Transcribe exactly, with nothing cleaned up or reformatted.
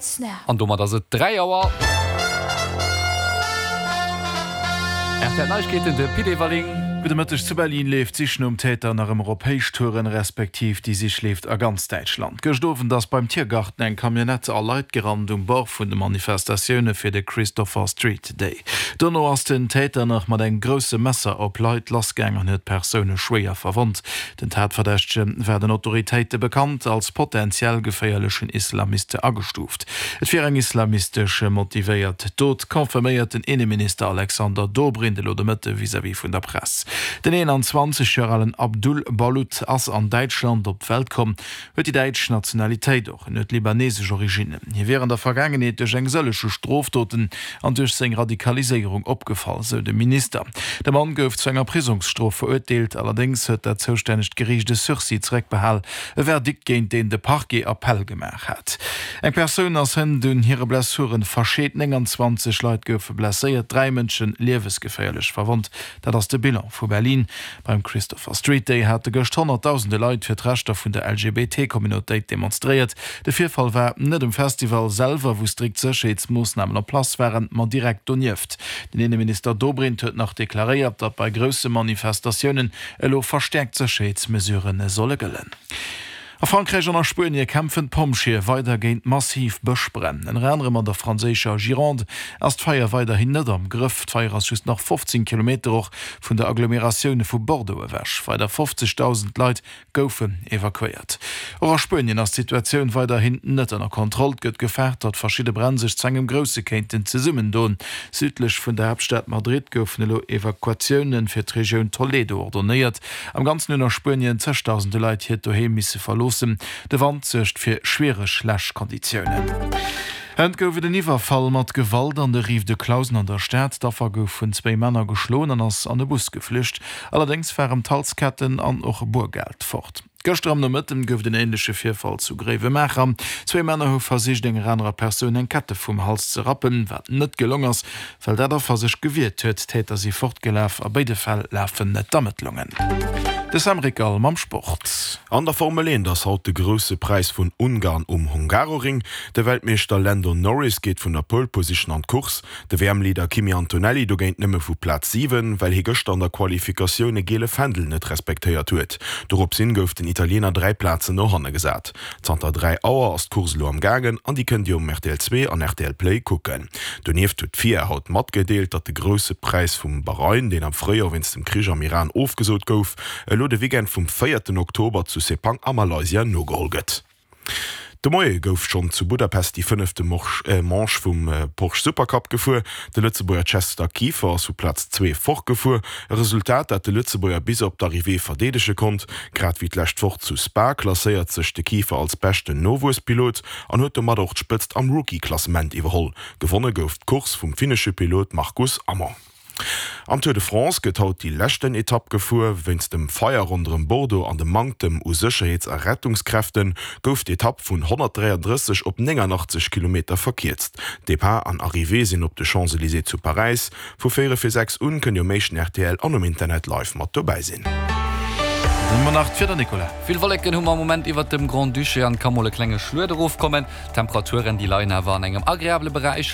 Snap. An domat ass et dräi Auer. R T L Neiegkeeten, de Pit Everling. Gudde Mëtteg. Zu Berlin leeft d'Sich nom Täter nach ëmmer op Héichtouren, respektiv déi Sich leeft a ganz Däitschland. Gëscht Owend ass beim Tiergarten eng Camionnette a Leit gerannt um Bord vun de Manifestatioune fir de Christopher Street Day. Dono ass den Täter nach mat engem grousse Messer op Leit lassgaang an huet Persoune schwéier verwonnt. Den Tatverdächtege war den Autoritéite bekannt, als potentiell geféierlechen Islamiste agestuuft. Et wier eng islamistesch motivéiert Dot, confirméiert den Inneminister Alexander Dobrindt elo de Mëtte vis-à-vis vun der Press. Den eenanzwanzeg Joer alen Abdul Balut ass an Däitschland op d'Welt komm, huet déi däitsch Nationalitéit och. En huet libanesesch Originnen. Hie wier an der Vergaangenheet duerch eng sëllege Strofdoten an duerch seng Radikaliséierung opgefall, sou de Minister. De Mann gouf zu enger Prisongsstrof verurteelt, allerdéngs huet dat zoustännegt Geriicht e Sursis zeréckbehal, e Verdikt géint deen de Parquet Appell gemaach hat. Eng Persoun ass hënt un hire Blessuren verscheet, nénganzwanzeg Leit goufe blesséiert, dräi Mënsche liewesgeféierlech verwonnt. Dat ass de Bilan vu Berlin. Beim Christopher Street Day hate gëscht honnertdausende Leit fir d'Rechter vun der L G B T-Communautéit demonstréiert. De Virfall war net um Festival selwer, wou strikt Sécherheetsmoossnamen en place waren, ma direkt donieft. Den Inneminister Dobrindt huet nach deklaréiert, datt bei grousse Manifestatiounen elo verstäerkt Sécherheetsmesurë solle gëllen. A Frankräich an a Spuenie kämpfen d'Pompjeeë weider géint massiv Bëschbränn. Ënner anerem an der franséischer Gironde ass d'Feier weiderhin net am Grëff. D'Feier ass just nach fofzéng Kilometer och vun der Agglomeratioun vu Bordeaux ewech. Weider fofzegdausend Leit goufen evakuéiert. Och a Spuenien ass d'Situatioun weiderhin net ënner Kontroll. Et gëtt gefaart, datt verschidde Bränn sech zu engem grousse kéinten zesummendoen. Südlech vun der Haaptstad Madrid goufen elo Evakuatioune fir d'Regioun Toledo ordonéiert. Am Ganzen hunn a Spuenien zegdausende Leit hiert Doheem misse verloossen. De Wand suergt fir schwiereg Läschkonditiounen. Hënt gouf et en Iwwerfall mat Gewalt an de Rives de Clausen an der Stad. D'Affer gouf vun zwéi Männer geschloen an ass an e Bus geflücht. Allerdéngs waren d'Halsketten an och Boergeld fort. Gëschter am Nomëtten gouf et en änleche Virfall zu Gréiwemaacher. Zwee Männer hu versicht, enger anerer Persoun eng Kette vum Hals ze rappen, wat net gelong ass, well dat Affer sech gewiert huet. D'Täter si fortgelaf. A béide Fäll lafen d'Ermëttlungen. De Sam Rickal mam Sport. An der Formel eent ass haut de Grousse Präis vun Ungarn um Hungaroring. De Weltmeeschter Lando Norris geet vun der Pole Position an d'Course. De W M-Leader Kimi Antonelli dogéint nëmme vu Plaz siwen, well hie gëschter an der Qualifikatioun e giele Fändel net respektéiert huet. Doropshin gouf den Italiener dräi Plazen no hanne gesat. Zanter dräi Auer ass d'Course elo am Gaangen an déi kënnt Dir um R T L zwee an R T L Play kucken. Donieft huet d'F I A haut matgedeelt, datt de Grousse Präis vum Bahrain, deen am Fréijoer wéinst dem Krich am Iran ofgesot gouf, elo de Weekend vum véierten Oktober zu Sepang a Malaysia nogeholl gëtt. De Moie gouf schonn zu Budapest déi fënnefte Manche vum Porsche Supercup gefuer. De Lëtzebuerger Chester Kieffer ass vu Plaz zwee fortgefuer, e Resultat, dat de Lëtzebuerger bis op d'Arrivée verdeedege konnt. Grad wéi d'lescht Woch zu Spa klasséiert sech de Kieffer als beschten Nowuesspilot an huet domat och d'Spëtzt am Rookie-Klassement iwwerholl. Gewonne gouf d'Course vum finnesche Pilot Marcus Amon. Am Tour de France gëtt haut déi leschten Etapp gefuer. Wéinst dem Feier ronderëm Bordeaux an dem Manktem u Sécherheets a Rettungskräfte gouf d'Etapp vun honnertdräiandrësseg op nénganachtzesch Kilometer verkierzt. Depart an Arrivée sinn op de Champs-Élysées zu Paräis. Vu véierel vir sechs un kënnt Dir um éischten R T L an um Internet live mat dobäi sinn. Dann hu mer nach d'Wieder, Nicolas. Vill Wolleken hu mer am Moment iwwert dem Grand-Duché an ka mol e klenge Schluet erofkommen. D'Temperaturen déi leien awer an engem agreabele Beräich.